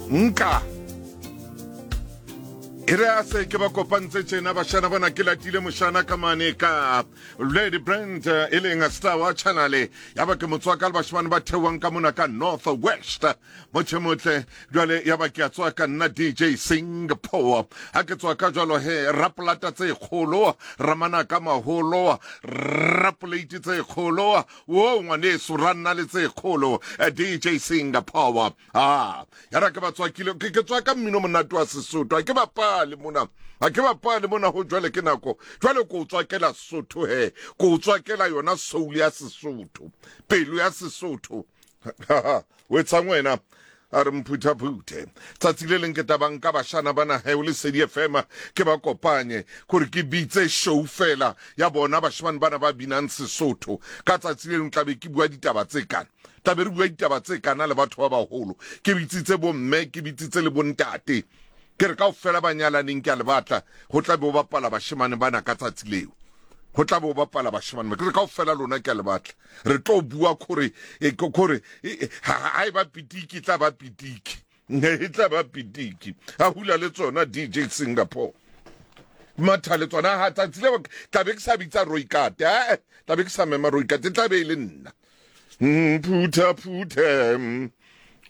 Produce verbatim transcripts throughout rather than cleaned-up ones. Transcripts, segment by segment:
Nka e re a se ke ba kopantse tjena bashana bana, ke latile moshana ka mane ka Lady Brand, e leng star wa channel, ya ba ke motswaka le bashimane ba theohang ka mona ka North West motjhe motle. Jwale ya ba ke a tswa ka nna D J Singapore, ha ke tswa ka jwalo he rapolata tse kgolo, ramana ka maholo, rapolate tse kgolo, wo ngwaneso ra nna le tse kgolo, D J Singapore. Ah, ya ra ke ba tswakile, ke ke tswa ka mmino monate wa Sesotho, ha ke bapale mona, ha ke bapale mona ho jwale ke nako jwale ko tswakela Sesotho he, ko tswakela yona soul ya Sesotho, pelo ya Sesotho. O etsang wena? A re mphuthaphuthe tsatsi le leng ke tabang ka bashana bana he o Lesedi F M, ke ba kopanye gore ke bitse show fela ya bona bashimane bana ba binang Sesotho. Ka tsatsi le leng tlabe ke bua ditaba tse kana, tlabe re bua ditaba tse kana le batho ba baholo, ke bitsitse bomme, ke bitsitse le bontate, ke re kaofela ba nyalaneng ke a le batla, ho tla be o bapala bashimane bana ka tsatsi leo, ho tla be o bapala bashimane, ke re kaofela lona ke a le batla, re tlo bua kore kore ha e ba pitiki tla ba pitiki, e tla ba pitiki. A hula le tsona D J Singapore matha le tsona ha tsatsi leo tla be ke sa bitsa Roikate, eh tla be ke sa mema Roikate, tla be e le nna. Mphuthaphuthe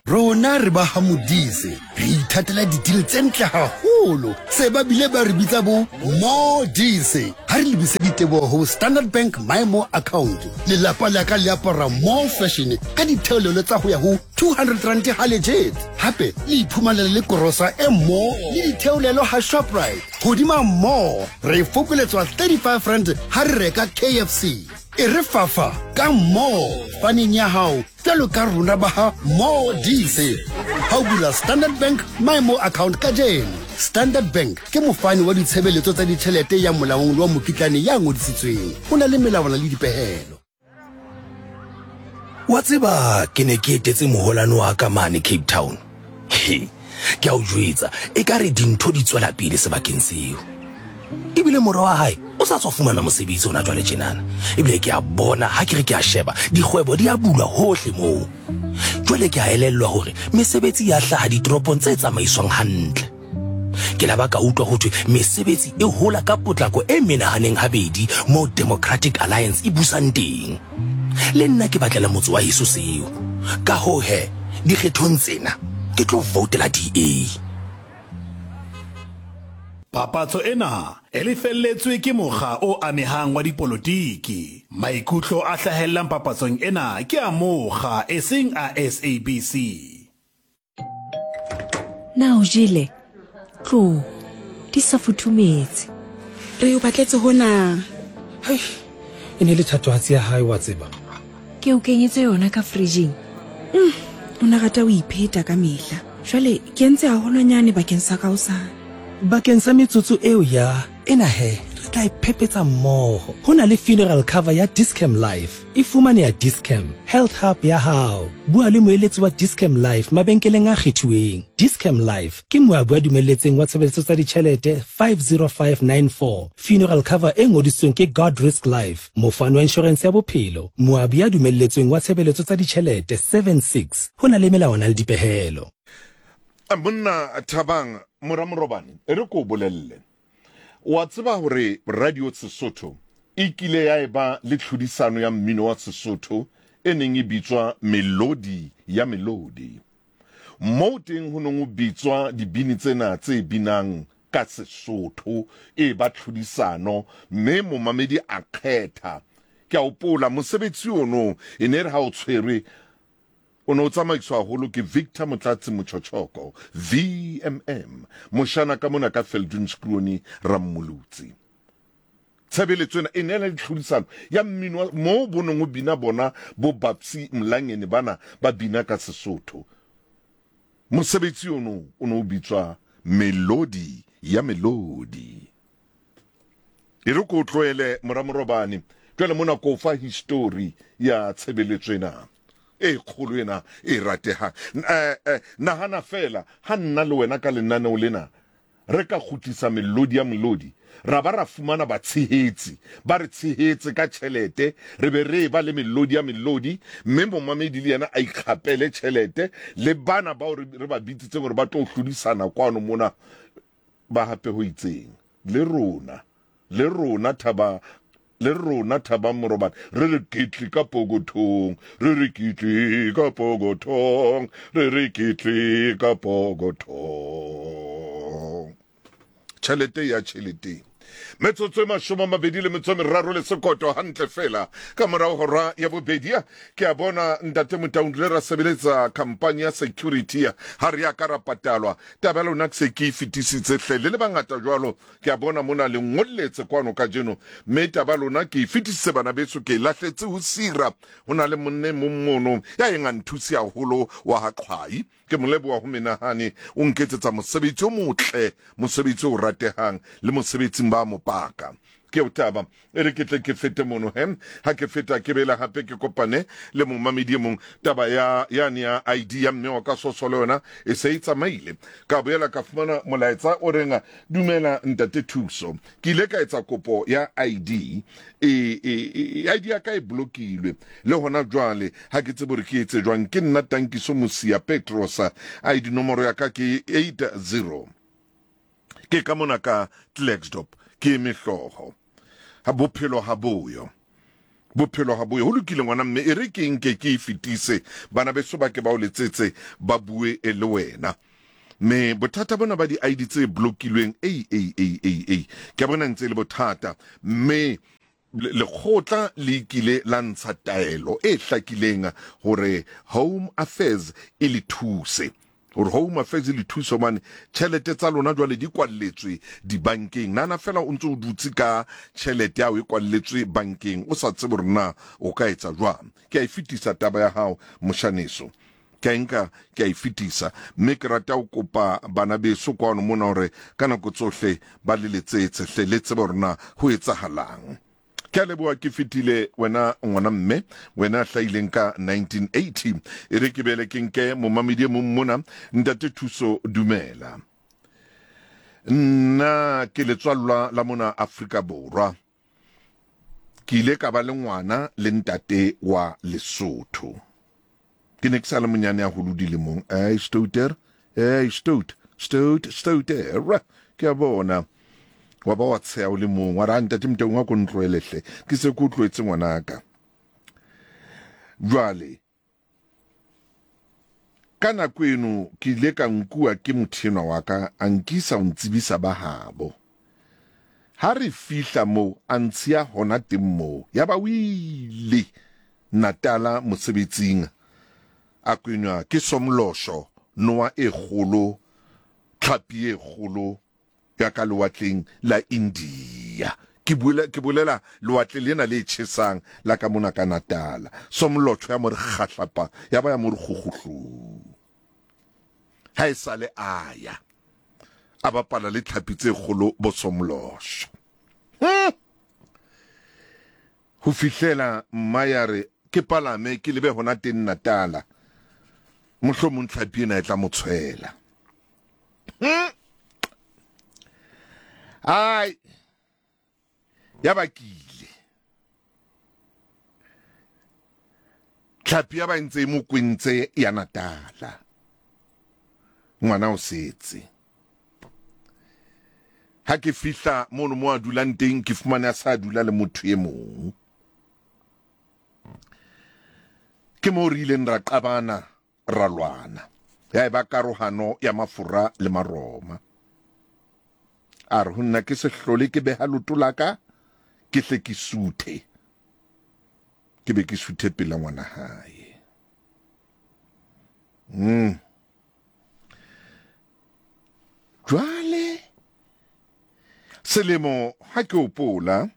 Rona re ba ha Modise, re ithatela ditile tse ntle haholo, se ba bile ba re bitsa bo Modise. Ha re lebise diteboho ho Standard Bank My More account, lelapa la ka le apara more fashion ka ditheolelo tsa ho ya ho two hundred rand ha legit. Hape le iphumanela le korosa e more le ditheolelo ha Shoprite. Hodima more re fokoletswa thirty-five rand ha re reka K F C. E re fafa ka more faneng ya hao jwalo ka rona ba ha Modise. Ha o bula Standard Bank My More account kajeno. Standard Bank ke mofani wa ditshebeletso tsa ditjhelete ya molaong le wa mokitlane ya ngodisitsweng. Ho na le melawana le dipehelo. Wa tseba ke ne ke etetse moholwane wa ka mane Cape Town. He, ke a o jwetsa, ekare dintho di tswela pele sebakeng seo. Ebile mora wa hae o sa tswa fumana mosebetsi hona jwale tjenana. Ebile ke a bona ha ke re ke a sheba, dikgwebo di a bulwa hohle moo. Jwale ke a elellwa hore mesebetsi ya hlaha ditoropong tse tsamaiswang hantle. Ke la ba ka utlwa ho thwe mesebetsi e hola ka potlako e menahaneng habedi moo Democratic Alliance e busang teng. Le nna ke batlela motse wa heso seo. Ka hoo he, dikgethong tsena ke tlo voutela D A. Papatso ena e lefelletswe ke mokga o amehang wa dipolotiki. Maikutlo a hlahellang papatsong ena ke a mokga eseng a S A B C. Na o jele? Tlo, di sa futhumetse. Re o batletse hona. Hai, e ne le thatohatsi ya hae wa tseba. Ke o kenyetse yona ka fridging. Mm, o na rata o ipheta ka mehla. Jwale ke entse haholwanyane bakeng sa ka hosane. Bakeng sa metsotso eo ya ena he, re tla iphepetsa mmoho. Ho na le funeral cover ya Dis-Chem Life. E fumaneha Dis-Chem Health Hub ya hao. Bua le moeletsi wa Dis-Chem Life mabenkeleng a kgethuweng. Dis-Chem Life ke moabi wa dumelletseng wa tshebeletso tsa ditjhelete five zero five nine four. Funeral cover e ngodisitsweng ke God Risk Life, mofani wa insurance ya bophelo, moabi ya dumelletsweng wa tshebeletso tsa ditjhelete seven six. Ho na le melawana le dipehelo. Monna Thabang mora Morobane, e re ko bolelle. Wa tseba hore Radio Sesotho e kile ya eba le tlhodisano ya mmino wa Sesotho e neng e bitswa Melodi ya Melodi. Moo teng ho neng ho bitswa dibini tsena tse binang ka Sesotho e ba tlhodisano, mme momamedi a kgetha. Ke a hopola mosebetsi ono e ne re ha o tshwerwe o ne o tsamaiswa haholo ke Victor Motlatsi Mochochoko, V M M, moshana ka mona ka Feldunskrooni Rammolutsi. Tshebeletso ena e ne le tlhodisano ya mmino moo bo neng ho bina bona bo Babsy Mlangeni bana ba bina ka Sesotho. Mosebetsi ono o ne o bitswa Melodi ya Melodi. E re ko tlohele mora Morobane, jwale mona ko fa history ya tshebeletso ena e kgolo ena e ratehang. Eh, eh, nahana fela ha nna le wena ka lenaneo lena re ka kgutlisa melodi ya melodi, ra ba ra fumana batshehetsi, ba re tshehetse ka tjhelete, re be re ba le melodi ya melodi, mme momamedi le yena a ikgapele tjhelete, le bana bao re ba bitsitseng hore ba tlo hlodisana kwano mona ba hape ho itseng. Le rona, le rona thaba, le rona thaba morobane, re re kitli ka pokothong, re re kitli ka pokothong, re re kitli ka pokothong. Tjhelete ya tjhelete. Metsotso e mashome a mabedi le metso e meraro le sekoto hantle fela ka morao hora ya bobedi. Ke a bona ntate Motaung le ra sebeletsa company ya security ha re ya ka ra patalwa. Taba ya lona ke se ke e fetisitse hle le le bangata jwalo. Ke a bona mona le ngolletse kwano kajeno, mme taba ya lona ke e fetisitse bana beso, ke e lahletse ho sira. Ho na le monne mong mono ya eng a nthuse haholo wa ha Qhwai. Ke mo leboha ho menahane, o nketsetsa mosebetsi o motle, mosebetsi o ratehang le mosebetsing ba mopaka. Ke o taba e re ke tle ke fete mono he, ha ke feta ke bela hape ke kopane le momamedi e mong. Taba ya yane ya I D ya mme wa ka soso le yona e se e tsamaile. Ka boela ka fumana molaetsa o reng, dumela ntate Thuso, ke ile ka etsa kopo ya I D, e, e, e I D ya ka e blokilwe le hona jwale ha ke tsebe hore ke etse jwang. Ke nna Tankiso Mosia Petrosa, I D nomoro ya ka ke eight zero. Ke ka mona ka Klerksdorp, ke eme hlooho. Ha bophelo ha boyo, bophelo ha boyo. Ho lokile ngwana mme, e re ke nke ke e fetise, bana beso ba ke ba o letsetse ba bue e le wena. Mme bothata bona ba di I D tse blokilweng, ei ei ei ei ei, ke a bona ntse e le bothata. Mme lekgotla le kile la ntsha taelo e hlakileng hore Home Affairs e le thuse, hore Home Affairs le thuso mane tjhelete tsa lona jwale di kwalletswe dibankeng. Nana fela o ntse o dutse ka tjhelete ya o e kwalletswe bankeng, o sa tsebe hore na o ka etsa jwang. Ke a e fetisa taba ya hao moshaneso, ke a nka ke a e fetisa, mme ke rata ho kopa bana beso kwano mona hore ka nako tsohle ba le letsetse hle, le tsebe hore na ho etsahalang. Ke a leboha ke fetile wena ngwana mme, wena hlahileng ka nineteen eighty. E re ke bele ke nke momamedi e mong mona. Ntate Thuso, dumela. Nna ke letswallwa la mona Afrika Borwa. Ke ile ka ba le ngwana le ntate wa Lesotho. Ke ne ke sa le monyane haholo dilemong. Ai stouter, ai stout, stout, stouter. Ke a bona. Wa ba wa tsheha o le mong, wa re, ntate Motaung wa ko ntlohele hle, ke se ke o tlohetse ngwanaka. Jwale ka nako eno ke ile ka nkuwa ke motho enwa wa ka, a nkisa ho ntsebisa ba habo. Ha re fihla moo, a ntshiya hona teng moo. Ya ba o ile Natala mosebetsing, a kwenywa ke somlosho, noa e kgolo, tlhapi e kgolo ya ka lewatleng la India. Ke bolela, ke bolela lewatle lena le tjhesang la ka mona ka Natala. Somlotho ya mo re kgahlapa, ya ba ya mo re kgukguhlu. Ha e sale a ya, a bapala le tlhapi tse kgolo bo somlosho. Hmm. Ho fihlela mma ya re ke palame ke lebe hona teng Natala, mohlomong tlhapi ena e tla mo tshwela. Hmm. Ai, ya ba kile tlhapi ya ba ntse e mo kwentse ya Natala. Ngwana o setse. Ha ke fihla mono mo a dulang teng, ke fumane a sa dula le motho e mong. Ke mo re ileng ra qabana, ra lwana. Ya eba karohano ya mafura le Maroma. A re ho nna ke se hlole ke beha loto la ka, ke hle ke suthe. Ke be ke suthe pela ngwana hae. Mm. Jwale selemo ha ke hopola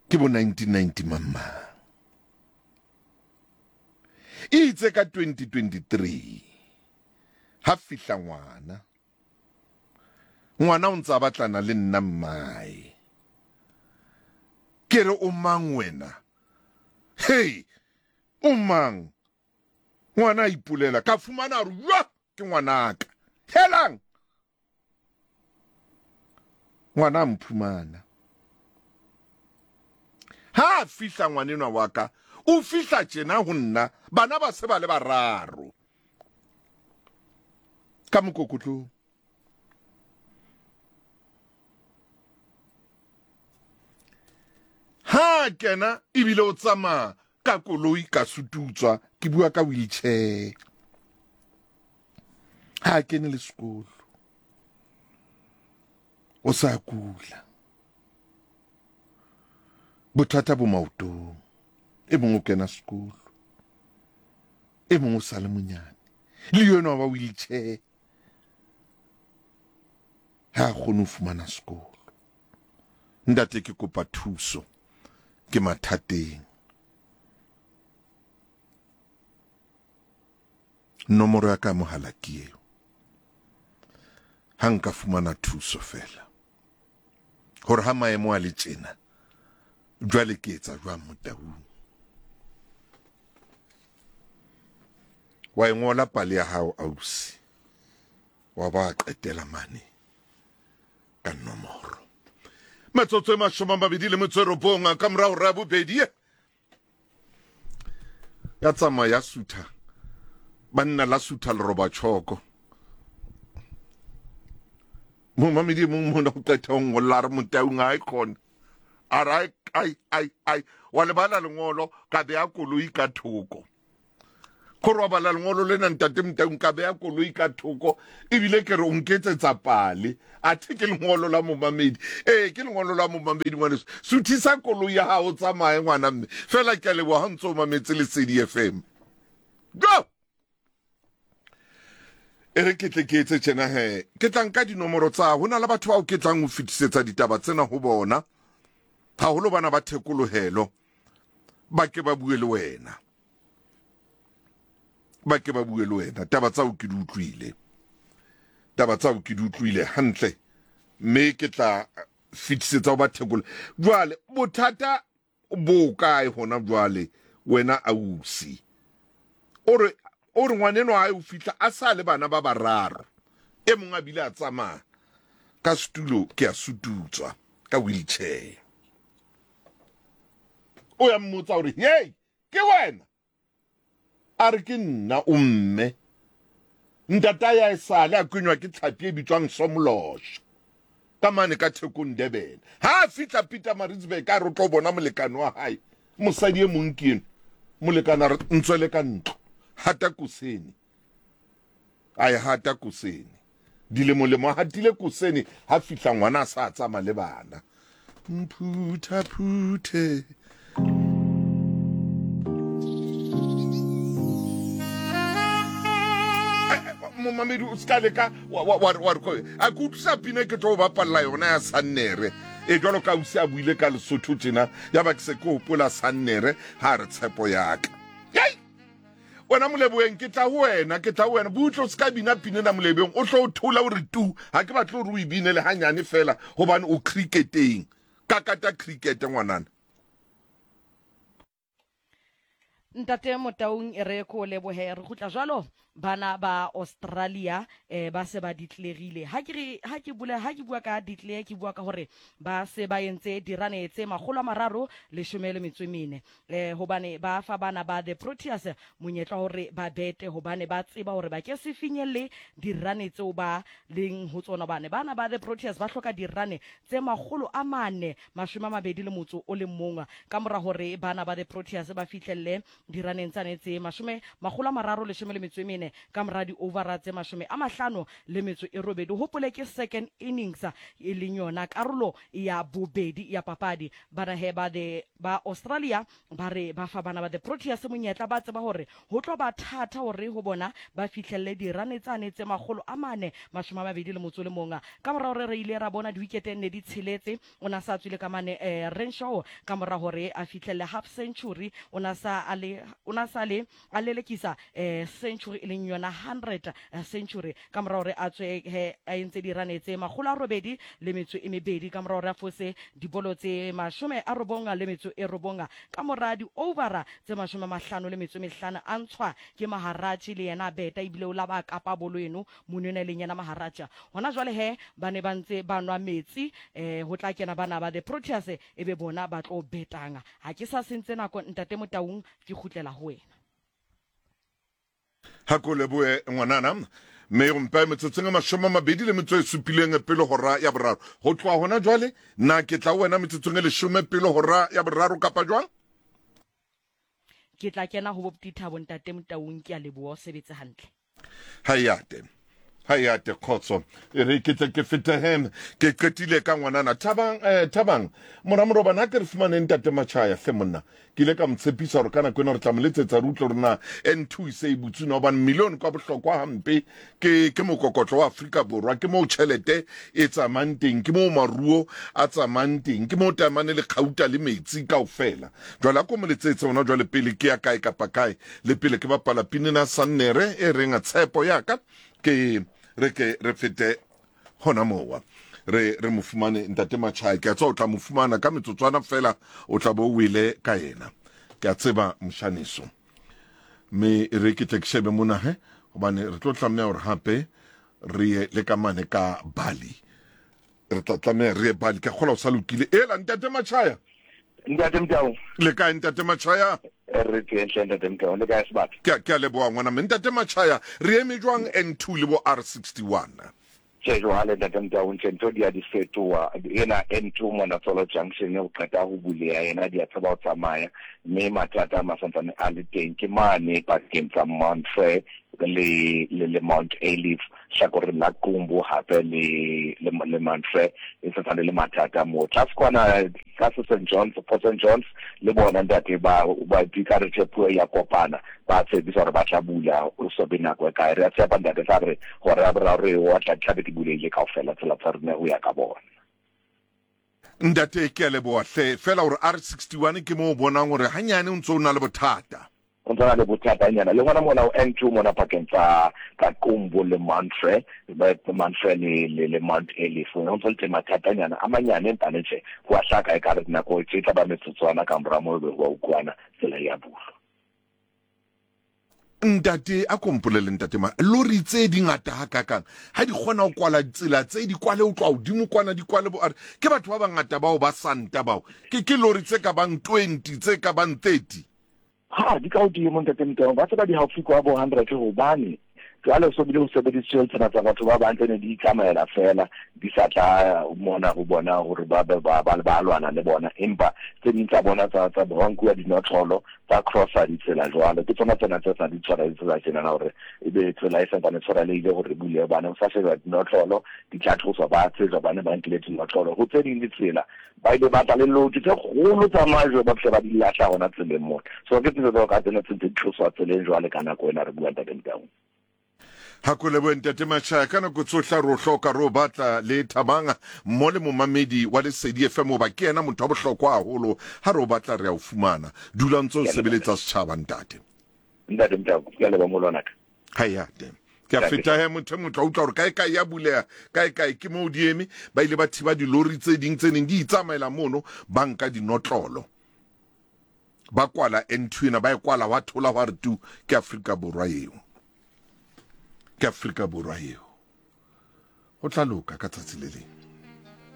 ke bo nineteen ninety mama. Itse ka twenty twenty-three ha fihla ngwana. Ngwana o ntse a batlana le nna mmae. Ke re o mang wena? Hey, o mang? Ngwana a ipolela, ka fumana hore, ke ngwanaka. Helang! Ngwana a mphumana. Ha a fihla ngwanenwa wa ka, o fihla tjena ho nna, bana ba se ba le bararo. Ka mokokotlong. Ha kena ebile o tsamaya ka koloi ka sututswa, ke bua ka wheelchair. Ha kene le sekolo. O sa kula. Bothata bo maotong. E mong o kena sekolo. E mong o sa le monyane. Le yena wa wheelchair. Ha kgone ho fumana sekolo. Ntate ke kopa thuso. Ke mathateng. Nomoro ya ka mohala ke eo. Ha nka fumana thuso fela. Hore ha maemo a le tjena, jwale ke etsa jwang Motaung? Wa e ngola pale ya hao ausi. Wa ba qetela mane ka nomoro. Metsotso e mashome a mabedi le metso e robong ka morao hora ya bobedi. Ya tsamaya ya sutha. Banna la sutha leroba tjhoko. Momamedi mong mona o qeta ho ngolla a re Motaung ha e khona. A re ai ai ai wa lebala lengolo ka beha koloi ka thoko. Kore wa bala lengolo lena ntate Motaung ka beha koloi ka thoko ebile ke re o nketsetsa pale. Athe ke lengolo la momamedi. Eh ke lengolo la momamedi ngwaneso. Suthisa koloi ya hao tsamaye ngwana mme. Fela ke a leboha ha ntso o mametse Lesedi F M. Go! E re ke tle ke etse tjena he. Ke tla nka dinomoro tsa ho na le batho bao ke tlang ho fetisetsa ditaba tsena ho bona. Haholo bana ba thekolohelo. Ba ke ba bue le wena. Ba ke ba bue le wena. Taba tsa o ke di utlwile. Taba tsa o ke di utlwile hantle. Mme ke tla fetisetsa ho ba thekolo. Jwale bothata bo kae hona jwale wena ausi? O re o re ngwaneno ha o fihla a sa le bana ba bararo. E mong a bile a tsamaya ka setulo ke a sututswa ka wheelchair. O ya mmotsa hore hey ke wena? A re ke nna o mme. Ntata ya esale a kenywa ke tlhapi e bitswang Somlosh. Ka mane ka Thekong Durban. Ha a fihla Pietermaritzburg a re o tlo bona molekane wa hae. Mosadi e mong ke eno. Molekane a re ntswele ka ntlo. Hata kosene. A e hata kosene. Dilemolemo a hatile kosene ha fihla ngwana a sa tsamaya le bana. Mphutha phuthe. Momamedi o ska leka wa wa wa re a ke utlwisa pina ke tlo bapalla yona ya Sannere. E jwalo ka ausi a buile ka Lesotho tjena ya ba ke se ke hopola Sannere ha re tshepo ya ka. Hei! Wena Moleboeng ke tla ho wena, ke tla ho wena. Butle o ska bina pina na Moleboeng o tlo o thola o re tu. Ha ke batle hore o e bine le hanyane fela hobane o cricketeng. Kakata cricket ngwanana. Ntate Motaung e re ko lebohe re kgutla jwalo bana ba Australia eh ba se ba ditlerile. Ha ke re ha ke bula ha ke bua ka ditlere ke bua ka hore ba se ba entse dirane tse makgolo a mararo leshome le metso e mene eh hobane ba fa bana ba the Proteas monyetla hore ba bete hobane ba tseba hore ba ke se finyelle dirane tseo ba leng ho tsona. Bane bana ba the Proteas ba hloka dirane tse makgolo a mane mashome a mabedi le motso o le mong ka mora hore bana ba the Proteas ba fihlelle diraneng tsane tse mashome makgolo a mararo leshome le metso e mene ka mora di-overa tse mashome a mahlano le metso e robedi. Hopole ke second innings e leng yona karolo ya bobedi ya papadi. Bana he ba the ba Australia ba re ba fa bana ba the Proteas monyetla, ba tseba hore ho tlo ba thata hore ho bona ba fihlelle dirane tsane tse makgolo a mane mashome a mabedi le motso le mong. Ka mora hore re ile ra bona di-wicket ne di tsheletse, o na sa tswile ka mane eh, Renshaw ka mora hore a fihlelle half century, o na sa a le sale o na sale a lelekisa eh century e leng yona hundred century ka mora hore a tswe he a entse dirane tse makgolo a robedi le metso e mebedi ka mora hore a fose dibolo tse mashome a robonga le metso e robonga ka mora di overa tse mashome a mahlano le metso e mehlano a ntshwa ke Maharaji le yena beta ebile o la ba kapa bolo eno monona e leng yena Maharaja. Hona jwale he ba ne ba ntse ba nwa metsi eh ho tla kena bana ba the Proteas e be bona ba tlo betanga. Ha ke sa sentse nako ntate Motaung, ke kgutlela ho wena. Ha ko lebohe ngwanana, mme o mpe metsotsong a mashome a mabedi le metso e supileng pele hora ya boraro. Ho tloha hona jwale nna ke tla ho wena metsotsong e leshome pele hora ya boraro kapa jwang? Ke tla kena ho Boptithabo ntate Motaung, ke a leboha, o sebetse hantle. Hayate hayate khotso, e re ke tle ke fete hem ke qetile ka ngwanana Thabang. eh Thabang mora morobana ke re fumane ntate Machaya hle monna, ke ile ka mo tshepisa hore ka nako ena re tla mo letsetsa re utlwe hore na N two e se e butswe na, hobane million kwa bohlokwa hampe ke ke mokokotlo wa Afrika Borwa, ke moo tjhelete e tsamayang teng, ke moo maruo a tsamayang teng, ke moo taemane le kgauta le metsi kaofela. Jwale a ko mo letsetse hona jwale pele ke ya kae kapa kae, le pele ke bapala pinina Sannere e reng tshepo ya ka, ke re ke re fete hona mowa re re mo fumane ntate Machaya. Ke a tseba o tla mo fumana ka metsotswana fela, o tla bo o ile ka yena, ke a tseba moshaniso. Mme re ke tle ke shebe mona he, hobane re tlo tlameha hore hape re ye le ka mane ka Bali, re tla tlameha re ye Bali. Ke a kgolwa o sa lokile. Ela ntate Machaya. Ntate Motaung. Le kae ntate Machaya? Re teng hle ntate Motaung, le kae sebaka? Ke ke a leboha ngwana mme. Ntate Machaya, re eme jwang N two le bo R sixty-one? Tjhe jwale ntate Motaung, tjhe ntho di a di fetoha. Ena N two mona Tsolo Junction o qeta ho buleha, yena di a tseba ho tsamaya, mme mathata a masantsane a le teng ke mane pakeng tsa Mount Frere le le le Mount Ayliff, hlakoreng la Qumbu hape le le le Mount Frere e santsane le mathata moo. Tlase kwana tlase Saint John's, Port Saint John's le bona ntate ba ba dikare tje puo ya kopana, ba tshepisa hore ba tla bula o so be nako e kae. Re a tshepa ntate tla re hore a boraro re o tla tlabe di bulehile kaofela tsela tsa rona ho ya ka bona. Ntate ke a leboha hle, fela hore R sixty-one ke moo o bonang hore hanyane o ntso o na le bothata. O ntso na le bothatanyana le hona mona o N two mona pakeng tsa tsa Qumbu le Mount Frere, Mount Frere le le le Mount Ayliff, o ntso le teng mathatanyana a manyane, empa le tje ho a hlaka ekare nako tse tla ba metsotswana ka mora moo be ho a utlwana tsela ya bulwa. Ntate a kompolele ntate ma lori tse di ngata hakakang ha di kgona ho kwala ditsela tse di kwale ho tloha hodimo kwana di kwale bo are ke batho ba bangata bao ba santa bao ke ke lori tse ka bang twenty tse ka bang thirty. Ha di ka hodimo ntate Motaung, ba tseba di haufi kwa bo hundred, hobane jwale so bile ho sebedisitswe tsena tsa batho ba bang tse ne di itsamaela fela di sa tla mona ho bona hore ba ba ba ba lwana le bona, empa tse ding tsa bona tsa tsa ba nkuwa dinotlolo tsa crossa ditsela jwale ke tsona tsena tse sa di tshwara ditsela tjena hore ebe tsela e santsane tshwarelehile hore bule hobane ho sa sheba dinotlolo di tla tloswa ba tsejwa bane ba nkile dinotlolo. Ho tse ding ditsela ba ile ba tla le load tse kgolo tsa majwe ba fihle ba di lahla hona tseleng mona. So ke tsela tsa ka tsena tse di tloswa tseleng jwale ka nako ena re bua ntate Motaung. Ha ko lebohe ntate Machaya, ka nako tsohle re o hloka re o batla le Thabang mo le momamedi wa Lesedi F M, hoba ke yena motho wa bohlokwa haholo, ha re o batla re a o fumana. Dula o ntse o sebeletsa setjhaba ntate. Ntate Motaung, ke a leboha molwanaka. Hayate. Ke a feta he motho e motho a utlwa hore kae kae ya buleha, kae kae ke moo di eme, ba ile ba thiba dilori tse ding tse neng di itsamaela mono, ba nka dinotlolo. Ba kwala N two ena, ba e kwala wa thola hwa re tu, ke Afrika Borwa eo. Ke Afrika Borwa eo. Ho tla loka ka tsatsi le leng.